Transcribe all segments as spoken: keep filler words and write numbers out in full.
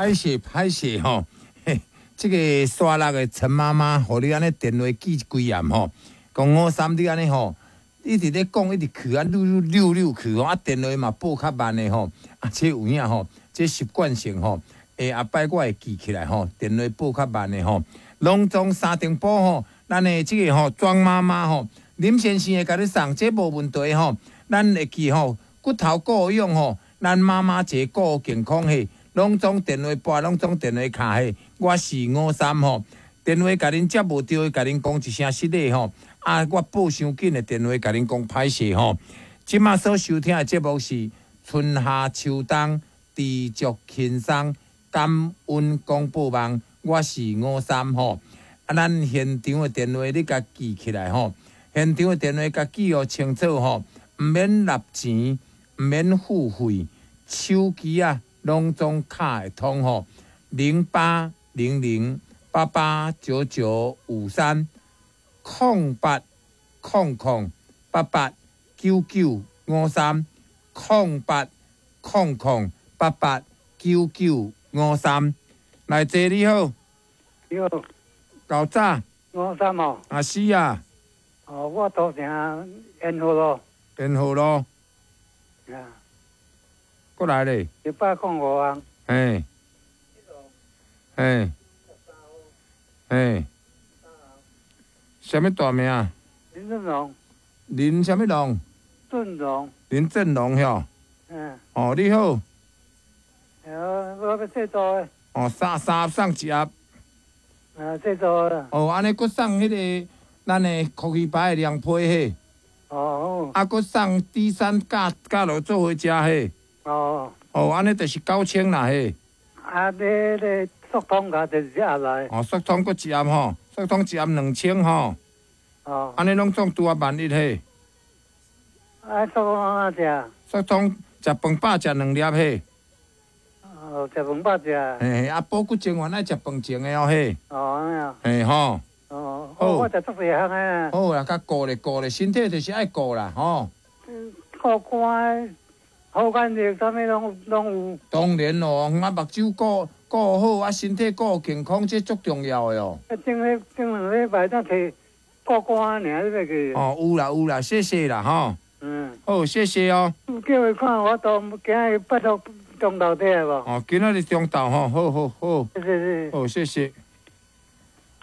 歹勢歹勢吼，嘿，這个沙鹿的陳媽媽，予你按呢電話記幾暗吼，講五三你按呢吼，一直咧講，一直去啊，溜溜溜去吼，啊電話嘛撥較慢的吼，啊這有影吼，這習慣性吼，欸後擺我會記起來吼，電話撥較慢的吼，攏總三重埔吼，咱的這个吼莊媽媽吼，林先生會共你送，這無問題吼，咱會記吼，骨頭顧養吼，咱媽媽一个顧健康嘿。攏總電話撥，攏總電話敲嘿，我是五三吼，電話共恁接無著，共恁講一聲失禮吼。啊，我報傷緊的電話共恁講歹勢吼。這馬所收聽的節目是春夏秋冬知足輕鬆感恩廣播網，我是五三吼。啊，咱現場的電話你共記起來吼，現場的電話共記予清楚吼，毋免納錢，毋免付費，手機啊。攏總敲會通吼，零八零零八八九九五三，空八空空八八九九五三，空八空空八八九九五三。來坐你好，你好，老早，五三哦，啊是啊，哦，我土城延河路，延河路，啊。過來咧，一百空五號。嘿，嘿，嘿，啥物大名？林振龍。林啥物龍？振龍。林振龍吼。嗯。哦，你好。哦，我欲製作的。哦，三三盒送一盒。啊，製作的。哦，按呢閣送彼个咱的酷魚排的涼皮嘿。哦。啊，閣送低山加加落做伙食嘿。哦，哦，按呢就是九千啦嘿。啊，你你速通共就是一盒來。哦，速通閣一盒吼，速通一盒兩千吼。哦。按呢攏總拄仔萬一嘿。啊，速通按怎食？速通食飯飽食兩粒嘿。哦，食飯飽食。嘿，啊，補骨精丸愛食飯前的哦嘿。哦，按呢啊。嘿吼。哦。好。我食足濟項的。好啦，較顧咧顧咧，身體就是愛顧啦吼。顧肝。好肝熱，啥物攏攏有。當然咯，啊，目睭顧顧好，啊，身體顧健康，這足重要的哦。啊，頂禮頂兩禮拜才提顧肝爾，你袂記？哦，有啦有啦，謝謝啦吼。嗯。好，謝謝哦。叫伊看我都今日拜託中晝佇來無？哦，今仔日中晝吼，好好好。謝謝。好，謝謝。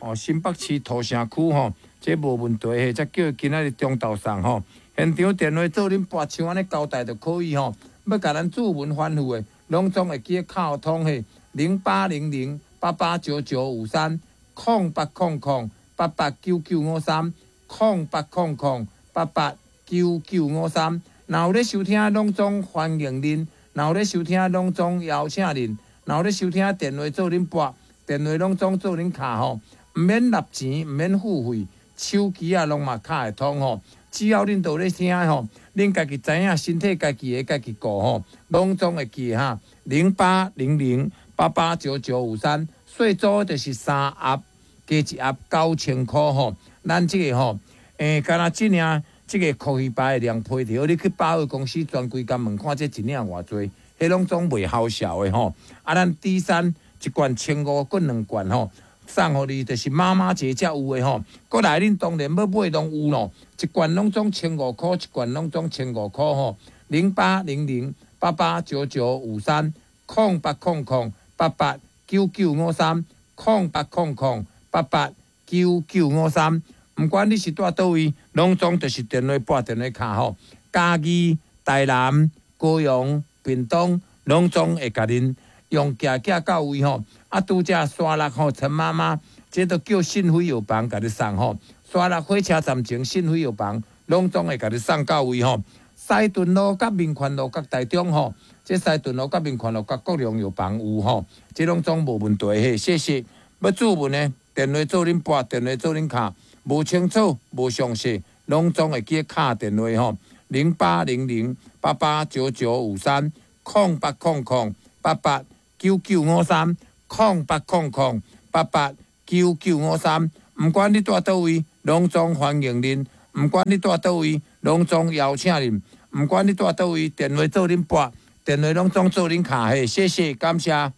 哦，新北市土城區吼，這無問題嘿，才叫伊今仔日中晝送吼。現場電話做恁撥像按呢交代就可以吼。欲共咱主文吩咐的，攏總會記敲通嘿，零八零零八八九九五三，空八空空八八九九五三，空八空空八八九九五三。若有咧收聽，攏總歡迎恁；若有咧收聽，攏總邀請恁；若有咧收聽，電話做恁撥，電話攏總做恁敲吼，毋免納錢，毋免付費，手機啊攏嘛敲會通吼。只要恁都有咧聽吼，恁家己知影身體家己的家己顧吼，攏總會記哈。零八零零八八九九五三，細組就是三盒加一盒九千箍吼。咱這个吼，欸，敢若這領這个酷魚排的涼皮著，你去百貨公司專櫃共問看，這一領偌濟，彼攏總袂好笑的吼。啊，咱 D 三一罐千五，閣兩罐吼。送予你就是媽媽節才有的吼，閣來恁當然欲買攏有咯，一罐攏總千五箍，一罐攏總千五箍吼，零八零零八八九九五三，空八空空八八九九五三，空八空空八八九九五三，毋管你是蹛佗位，攏總就是電話撥電話敲吼，嘉義、台南、高雄、屏東，攏總會共恁用寄寄到位吼，啊，拄才沙鹿吼，陳媽媽，這都叫信輝藥房共你送吼。沙鹿火車站前信輝藥房，攏總會共你送到位吼。西屯路佮民權路佮台中吼，這西屯路佮民權路佮國良藥房有吼，這攏總無問題嘿。謝謝。欲注文的，電話做恁撥，電話做恁敲，無清楚、無詳細，攏總會記敲電話吼，零八零零八八九九五三，空八空空八八。九九五三，空八空空八八九九五三，毋管你蹛佗位，攏總歡迎恁；毋管你蹛佗位，攏總邀請恁；毋管你蹛佗位，電話做恁撥，電話攏總做恁敲嘿，謝謝，感謝。